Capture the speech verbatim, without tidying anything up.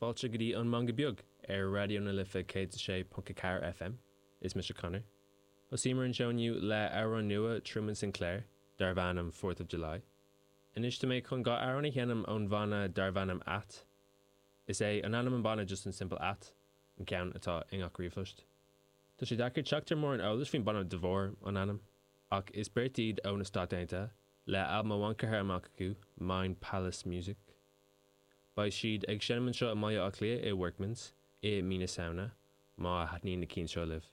Fáilte go dtí an Meangadh Beag ar Raidió na Life céad sé ponc a ceathair F M. Is mise Conor. Thosaíomar an seó inniu le amhrán nua Truman Sinclair darb ainm fourth of July. Anois tá mé chun dhá amhrán a sheinm ón bhanna darb ainm At. Is é an ainm an banna just an simple At, an ceann atá i ngach ríomhphost. Tá sé deacair teacht ar mórán eolais faoin banna de bharr an ainm, ach is beirt iad ó na Stáit Aontaithe le albam amháin curtha amach acu, Mind Palace Music. Beidh siad ag seinm anseo i mBaile Átha Cliath i Workman's i mí na Samhna má thaitníonn na cinn seo libh.